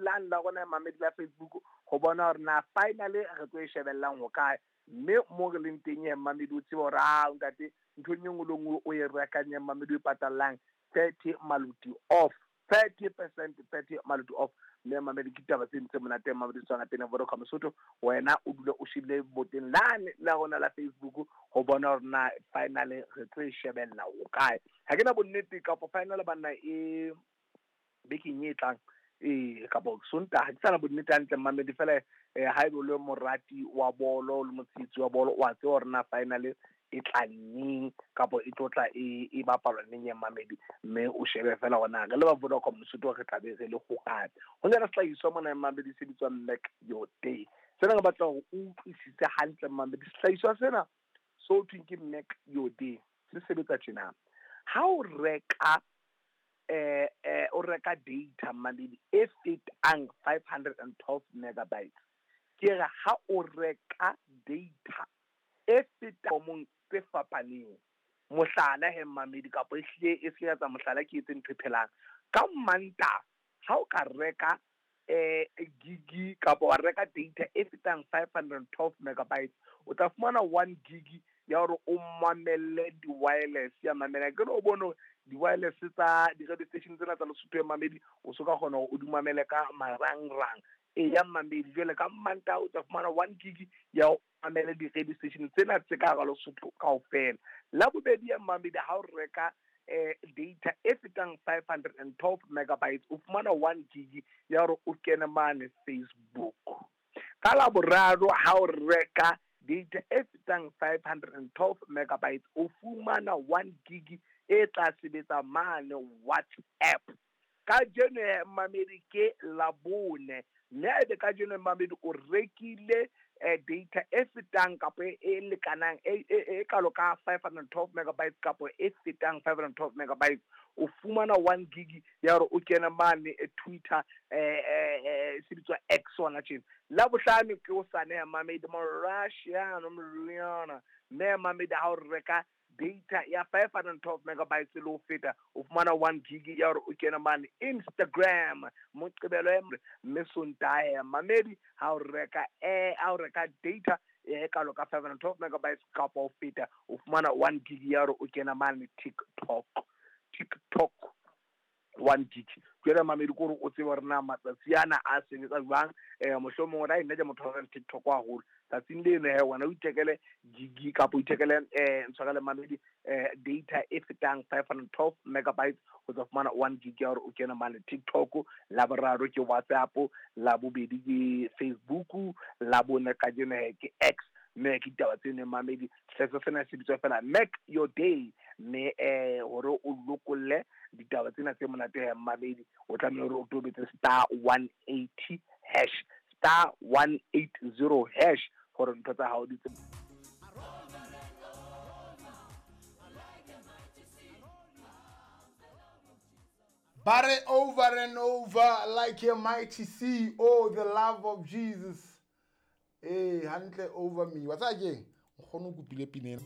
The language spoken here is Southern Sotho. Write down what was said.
lane la rona mamedi la Facebook ho bona hore na finally re tlo e shebellang ho kae. Mme mo re leng teng mamedi o tsebe hore a ntate nthong e nngwe le nngwe o e rekang ya mamedi o e patallang 30 maluti off, 30%, 30 maluti off. Mme mamedi ke taba tse ntse monate mamedi tswana pele Vodacom Lesotho, wena o dule o shebile boteng lane la rona la Facebook ho bona hore na finally re tlo e shebella ho kae. Ha ke na bonnete kapa final banna e bekeng e tlang kapa Sontaha, ke sana bonnete hantle mamedi fela. Ha ebe o le morati wa bolo le motshehetsi wa bolo, wa tseba hore na finally e tla neng kapa e tlo tla e bapalwa neng ya mamedi. Mme o shebe fela hore na re le ba Vodacom Lesotho re tla be re le ho kae. Ho na le sehlahiswa mona mamedi se bitswang Make Your Day. Sena re batla hore o utlwisise hantle mamedi. Sehlahiswa sena so thweng ke Make Your Day se sebetsa tjena. Ha o reka o reka data mamedi e fetang 512 megabytes, ke re ha o reka data e fetang mong tse fapaneng, mohlala he mamedi kapa e hlile e se ya tsa mohlala ke etse ntho e phelang ka Mantaha, ha o ka reka gig kapa wa reka data e fetang 512 megabytes, o tla fumana 1 gig ya hore o mamelle di-wireless ya mamela. Ke re o bone di-wireless tsa di-radio station tsena tsa Lesotho ya mamedi, o so ka kgona hore o di mamele ka marangrang e ya mamedi. Jwale ka Mantaha o tla fumana 1 gig ya ho mamele di-radio station tsena tse ka hara Lesotho kaofela. La bobedi ya mamedi, ha o reka data e fetang 512 megabytes, o fumana 1 gig ya hore o kene mane Facebook. Ka la boraro, ha o reka data e fetang 512 megabytes, o fumana 1 gig e tla sebetsa mane WhatsApp. Kajeno mamedi ke Labone, mme ebe kajeno mamedi o rekile data e fetang kapa e lekanang e kalo ka 512 megabytes kapa e fetang 512 megabytes, o fumana 1 gig ya hore o kene mane Twitter, se bitswa X hona tjena. La bohlano ke o sane ya mamedi Morashiano Moriana, mme mamedi ha o reka data ya 512 megabytes le ho feta, o fumana 1 gig ya hore o kene mane Instagram. Moqebelo mme Sontaha mamedi ha o reka ha o reka data e kalo ka 512 megabytes kapa ho feta, o fumana 1 gig ya hore o kena mane TikTok 1 gig. Jwale mamedi ke hore o tsebe hore na matsatsi ana a sebetsa jwang. Mohlomong o nna ke motho wa TikTok haholo, tsatsing leno he wena o ithekele gig kapa o ithekele ntshwarele mamedi data e fetang 512 megabytes, o tla fumana 1 gig ya hore o kene mane TikTok. La boraro ke WhatsApp, la bobedi ke Facebook, la bone kajeno he ke X. Mme ke ditaba tseno mamedi. Sehlahiswa sena se bitswa fela Make Your Day. Mme hore o lokolle ditaba tsena tse monate he mamedi, o tlameha hore o tobetse *180 hash, *180 hash hore ntho tsa hao di tse. Bare over and over like a mighty sea. Oh, the love of Jesus. Hey, hantle over me. What's that again? Nkgono o kopile pina ena.